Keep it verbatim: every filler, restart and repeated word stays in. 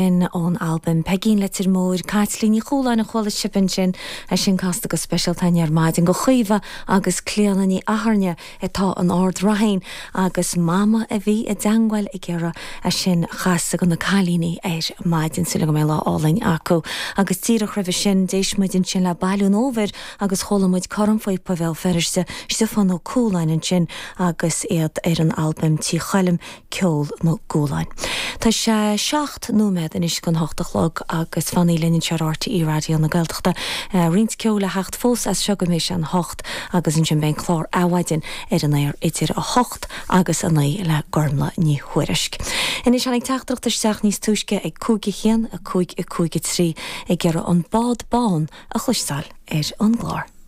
Ón albam Peigín Leitir Móir, Caitlín Ní Chualáin a chuala sibh ansin, é sin casta go speisialta againn ar maidin do Chaoimhe agus Clíona Ní Athairne atá in Ard Raithin agus mama a bhí i dteangmháil ag iarraidh é sin a chasadh do na cailíní ar maidin súil go mbeidh lá álainn acu. Agus díreach roimhe sin d'éist muid ansin le Bailiú an Fhómhair agus chuala muid Cornphíopa Bhéal Feirste, Stiofán Ó Cualáin ansin agus iad ar an albam Tí Choilm Ceol na gCualáin. Tá sé seacht nóiméad anois chun hocht a chlog agus fanaigí linn anseo ar RTÉ Raidió na Gaeltachta. Roinnt ceoil le theacht fós as seo go mbeidh sé an hocht agus ansin beidh an clár Adhmhaidin ar an aer idir a hocht agus a naoi le Gormlaith Ní Thuairisg. Anois tháinig teachtaireacht isteach níos túisce ag cúig a haon a cúig a cúig a trí ag iarraidh an bád bán a chloisteáil ar an gclár.